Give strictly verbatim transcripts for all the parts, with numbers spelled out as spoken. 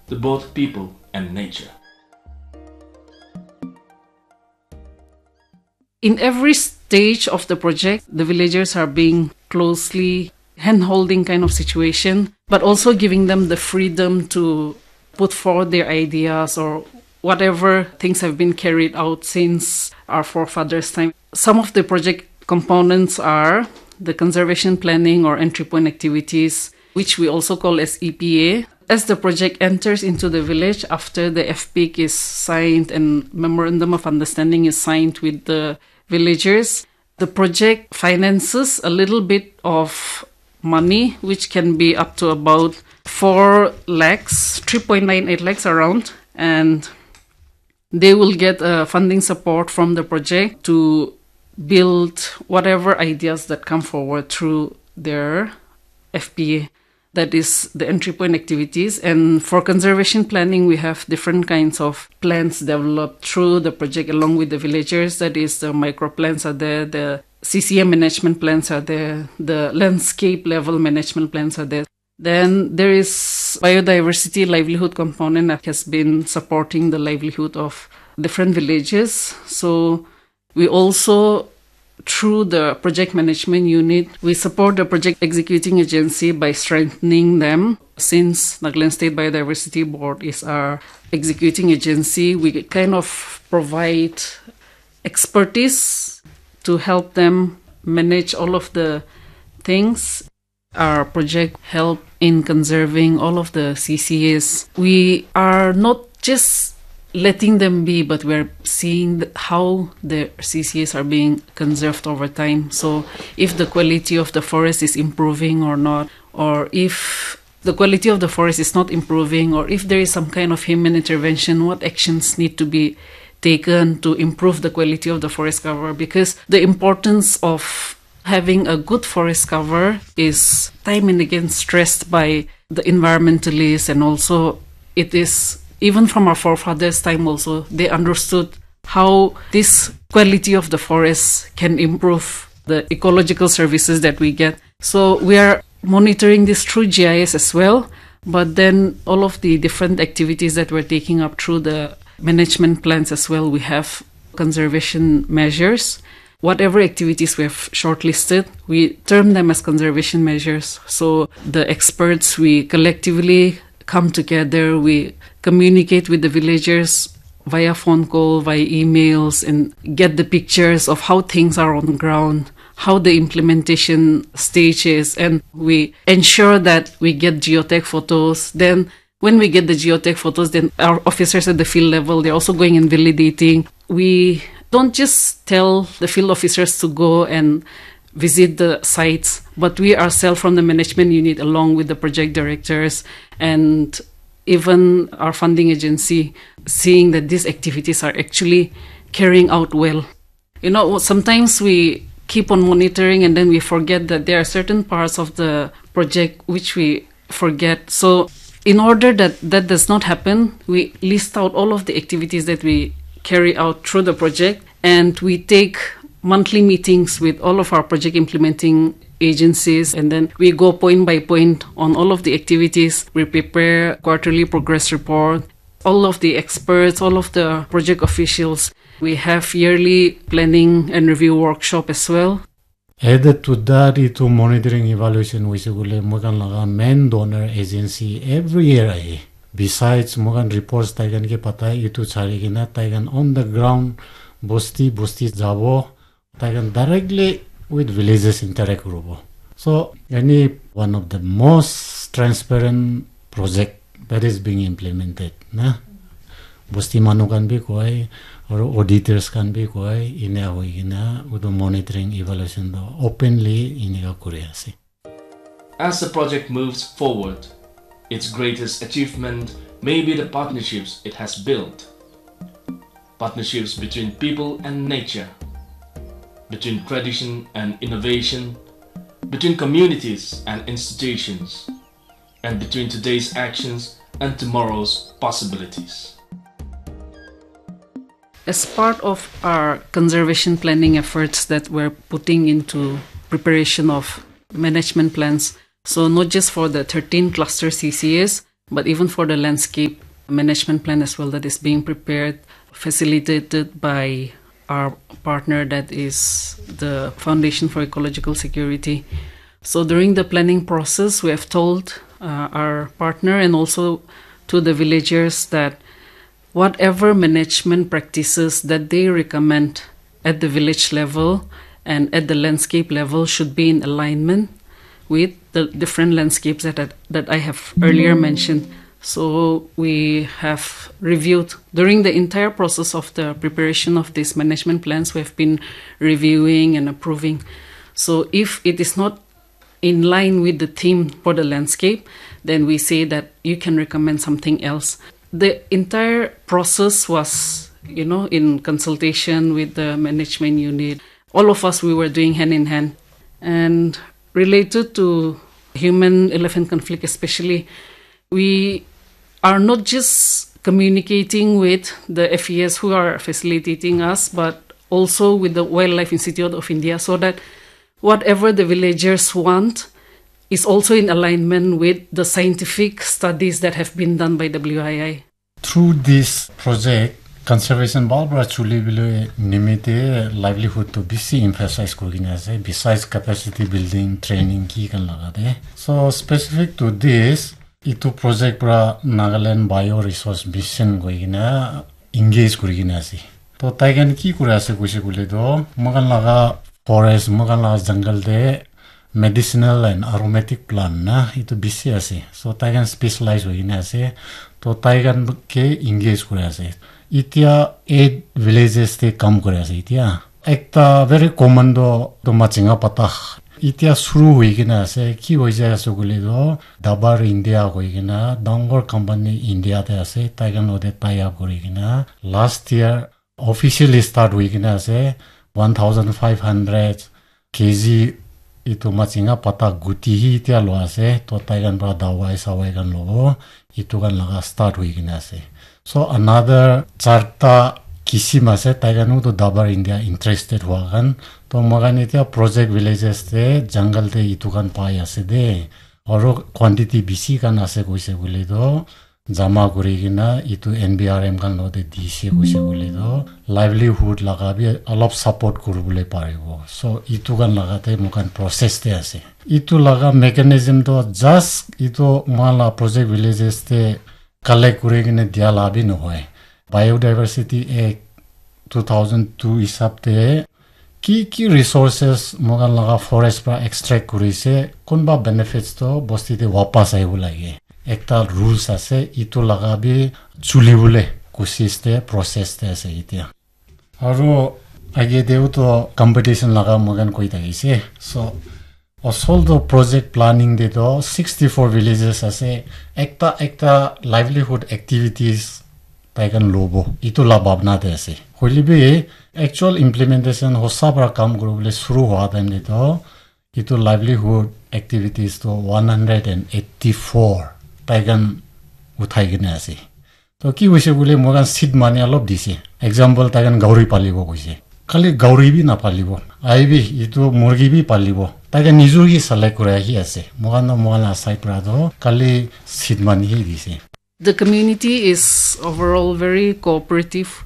to both people and nature. In every stage of the project, the villagers are being closely hand-holding kind of situation, but also giving them the freedom to put forward their ideas or whatever things have been carried out since our forefathers' time. Some of the project components are the conservation planning or entry point activities, which we also call as E P A. As the project enters into the village after the F P I C is signed and memorandum of understanding is signed with the villagers, the project finances a little bit of money, which can be up to about four lakhs, three point nine eight lakhs around, and they will get uh, funding support from the project to build whatever ideas that come forward through their F P A, that is the entry point activities. And for conservation planning, we have different kinds of plans developed through the project along with the villagers. That is, the micro plans are there, the C C M management plans are there, the landscape level management plans are there. Then there is biodiversity livelihood component that has been supporting the livelihood of different villages. So we also, through the project management unit, we support the project executing agency by strengthening them. Since Nagaland State Biodiversity Board is our executing agency, we kind of provide expertise to help them manage all of the things. Our project help in conserving all of the C C As. We are not just letting them be, but we're seeing th- how the C C As are being conserved over time. So, if the quality of the forest is improving or not, or if the quality of the forest is not improving, or if there is some kind of human intervention, what actions need to be taken to improve the quality of the forest cover? Because the importance of having a good forest cover is time and again stressed by the environmentalists, and also it is, even from our forefathers' time also, they understood how this quality of the forest can improve the ecological services that we get. So we are monitoring this through G I S as well, but then all of the different activities that we're taking up through the management plans as well, we have conservation measures. Whatever activities we have shortlisted, we term them as conservation measures. So the experts, we collectively come together, we communicate with the villagers via phone call, via emails, and get the pictures of how things are on the ground, how the implementation stage is, and we ensure that we get geotag photos. Then when we get the geotag photos, then our officers at the field level, they're also going and validating. We don't just tell the field officers to go and visit the sites, but we ourselves from the management unit, along with the project directors and even our funding agency, seeing that these activities are actually carrying out well. You know, sometimes we keep on monitoring and then we forget that there are certain parts of the project which we forget. So, in order that that does not happen, we list out all of the activities that we carry out through the project, and we take monthly meetings with all of our project implementing agencies, and then we go point by point on all of the activities. We prepare quarterly progress report. All of the experts, all of the project officials, we have yearly planning and review workshop as well. Added to that, itu monitoring evaluation hoise koile moi khan laga main donor agency every year ahe. Besides, moi khan reports tai khan ke patai, itu chari kena tai khan on the ground, bosti bosti jabo, tai khan directly with villages interact kuribo. So, any one of the most transparent project that is being implemented, na? Bosti manu khan bi koi, aru auditors khan bi koi, ina hoi kena, utu monitoring evaluation do openly inika kuri ase. As the project moves forward, its greatest achievement may be the partnerships it has built. Partnerships between people and nature, between tradition and innovation, between communities and institutions, and between today's actions and tomorrow's possibilities. As part of our conservation planning efforts that we're putting into preparation of management plans, so not just for the thirteen cluster C C As, but even for the landscape management plan as well that is being prepared, facilitated by our partner, that is the Foundation for Ecological Security. So during the planning process, we have told uh, our partner and also to the villagers that whatever management practices that they recommend at the village level and at the landscape level should be in alignment with the different landscapes that I, that I have earlier mentioned. So we have reviewed during the entire process of the preparation of these management plans, we have been reviewing and approving. So if it is not in line with the theme for the landscape, then we say that you can recommend something else. The entire process was, you know, in consultation with the management unit. All of us, we were doing hand in hand. And related to human elephant conflict, especially, we are not just communicating with the F E S who are facilitating us, but also with the Wildlife Institute of India, so that whatever the villagers want is also in alignment with the scientific studies that have been done by W I I. Through this project, conservation bhal para chuli bole nimite livelihood to bisi emphasize kuri kena ase, besides capacity building, training ki kan laga de. So specific to this, itu project para Nagaland Bio Resource Mission koi kena engage kuri kena ase. To tai kan ki kuri ase koise koile to, moi khan laga forest, moi khan laga jungle de medicinal and aromatic plant na itu bisi ase. So tai kan specialize hoi kena ase. To tai kan ke engage kuri ase. Itia eight villages te kam kuri ase itia. Ekta very common to to machinga pata. Itia suru hoi kena ase. Ki hoi jai ase koile to, Dabar India hoi kena dangor company India te ase. Tai kan lote tie up kuri kena last year officially start hoi kena ase. One thousand five hundred K G itu machinga pata guti hi itia lo ase. To tai kan para dawai sawai kan lobo. Itu kan laga start hoi kena ase. So another charta kisim ase, tai khan to Dabar India interested hua khan. To moi khan itia project villages te jungle te itu khan pai ase de. Aro quantity bisi khan ase koise koile to jama kuri kena itu N B R M khan lote dise koise koile to livelihood laga bi olop support kuribole paribo. So itu khan laga te moi khan process te ase. Itu laga mechanism to just itu moi la project villages te collect kuri kena dia la bi nohoi. Biodiversity Act two thousand two hisab te ki ki resources moi khan laga forest para extract kuri se, kunba benefits to bosti te wapas ahibo lage. Ekta rules ase, itu laga bi chuli bole kosis te, process te ase itia. Aro age teo to competition laga moi khan koi thakise. So asol to project planning te to sixty four villages ase, ekta ekta livelihood activities tai khan lobo, itu la bhabna te ase. Hoile bi actual implementation hosa para kam kuribole suru hua time te to itu livelihood activities to one hundred and eighty four tai khan uthai kena ase. To ki hoise koile moi khan seed money olop dise. Example, tai khan gauri palibo koise. Khali gauri bi napalibo. Ai bi itu murgi bi palibo. Tai khan nijor hi select kuri ahi ase. Moi khan to moi khan la side para to khali seed money hi dise. The community is overall very cooperative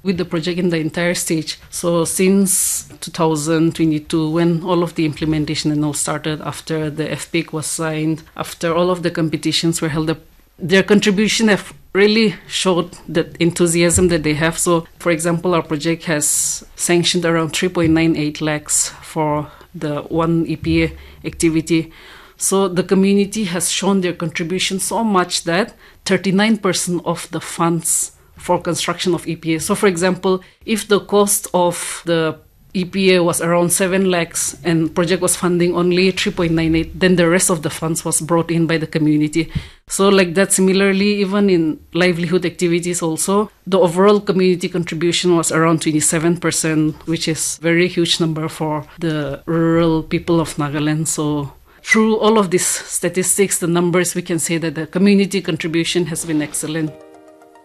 with the project in the entire stage. So since two thousand twenty-two, when all of the implementation and all started, after the F P I C was signed, after all of the competitions were held, the their contribution have really showed that enthusiasm that they have. So, for example, our project has sanctioned around three point nine eight lakhs for the one E P A activity. So the community has shown their contribution so much that thirty-nine percent of the funds for construction of E P A. So, for example, if the cost of the E P A was around seven lakhs and project was funding only three point nine eight, then the rest of the funds was brought in by the community. So, like that, similarly, even in livelihood activities, also, the overall community contribution was around twenty-seven percent, which is very huge number for the rural people of Nagaland. So, through all of these statistics, the numbers, we can say that the community contribution has been excellent.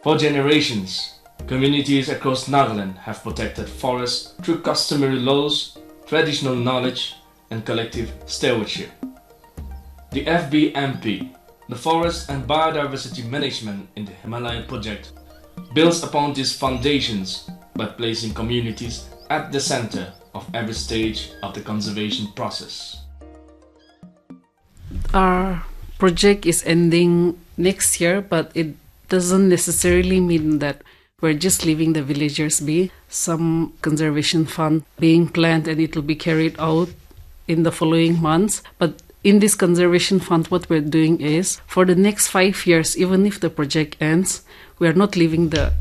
For generations, communities across Nagaland have protected forests through customary laws, traditional knowledge, and collective stewardship. The F B M P The forest and biodiversity management in the Himalaya project builds upon these foundations by placing communities at the center of every stage of the conservation process. Our project is ending next year, but it doesn't necessarily mean that we're just leaving the villagers be. Some conservation fund being planned and it will be carried out in the following months. But in this conservation fund, what we're doing is for the next five years, even if the project ends, we are not leaving the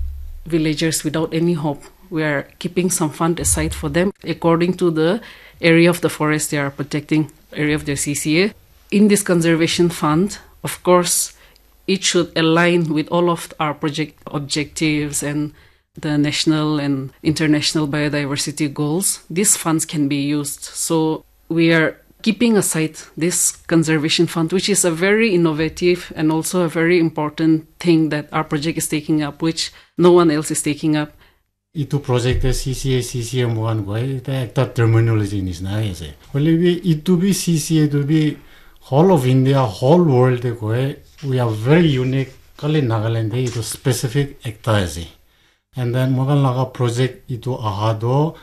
villagers without any hope. We are keeping some fund aside for them according to the area of the forest they are protecting, area of their C C A. In this conservation fund, of course, it should align with all of our project objectives and the national and international biodiversity goals. These funds can be used. So we are keeping aside this conservation fund, which is a very innovative and also a very important thing that our project is taking up, which no one else is taking up. Itu project te C C A, C C M one koi, ita ekta terminology nisna ase. Hoile bi itu bi C C A tu bi whole of India, whole world te koi, we are very unique. Kali Nagaland te itu specific ekta ase. And then moikhan laga project itu aha do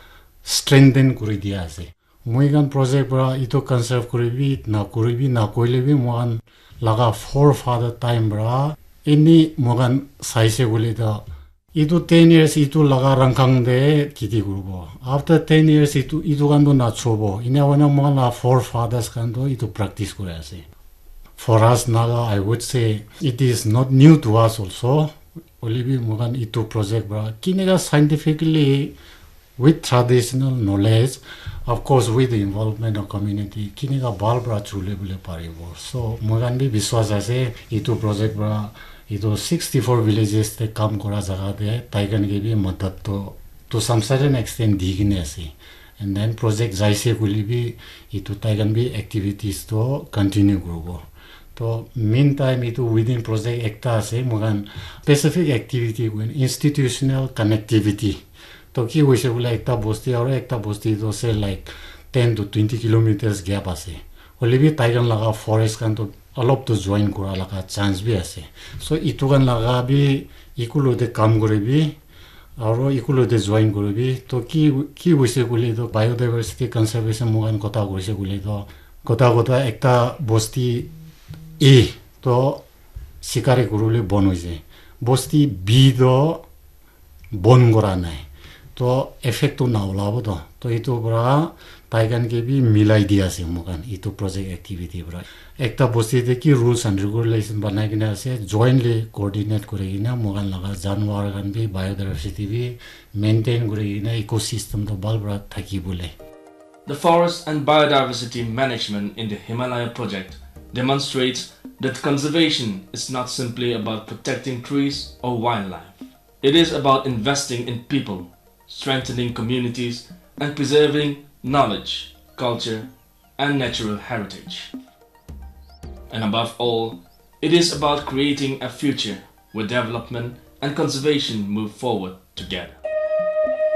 strengthen kuri dia ase. Moikhan project para itu conserve kuribi, na kuribi, na koile bi moikhan laga forefather time para any moikhan saise koile to itu ten years itu laga rangkang te khiti kuribo. After ten years itu itu khan to nachobo. Ina wana moikhan laga forefathers khan to itu practice kuri ase. For us Naga, I would say it is not new to us also. Hoile bi moikhan itu project para kineka scientifically with traditional knowledge, of course with the involvement of community, kineka bhal para chule bole paribo. So moikhan bi biswas ase itu project para itu sixty-four villages te kam kora jaga te taikhan ke bi madat to to some certain extent di kene ase. And then project jaise koile bi itu taikhan bi activities to continue kuribo. To meantime itu within project ekta ase moikhan specific activity koine institutional connectivity. To ki hoise bole ekta bosti aro ekta bosti to ase like ten to twenty kilometers gap ase. Hoile bi taikhan laga forest khan to olop to join kura laga chance bi ase. So itu khan laga bi equal te kam kuri bi aro equal te join kuri bi to ki ki hoise koile to biodiversity conservation moikhan kotha kurise koile to kotha kotha ekta bosti A to sikari kuribole bon hoise. Bosti B to bon kora nai. To effect to na ulabo to. To itu para taikhan ke bi milai di ase moikhan itu project activity para. Ekta bosti te ki rules and regulation banai kena ase, jointly coordinate kuri kena moikhan laga janwar khan bi biodiversity bi maintain kuri kena ecosystem to bhal para thaki bole. The forest and biodiversity management in the Himalaya project demonstrates that conservation is not simply about protecting trees or wildlife. It is about investing in people, strengthening communities, and preserving knowledge, culture, and natural heritage. And above all, it is about creating a future where development and conservation move forward together.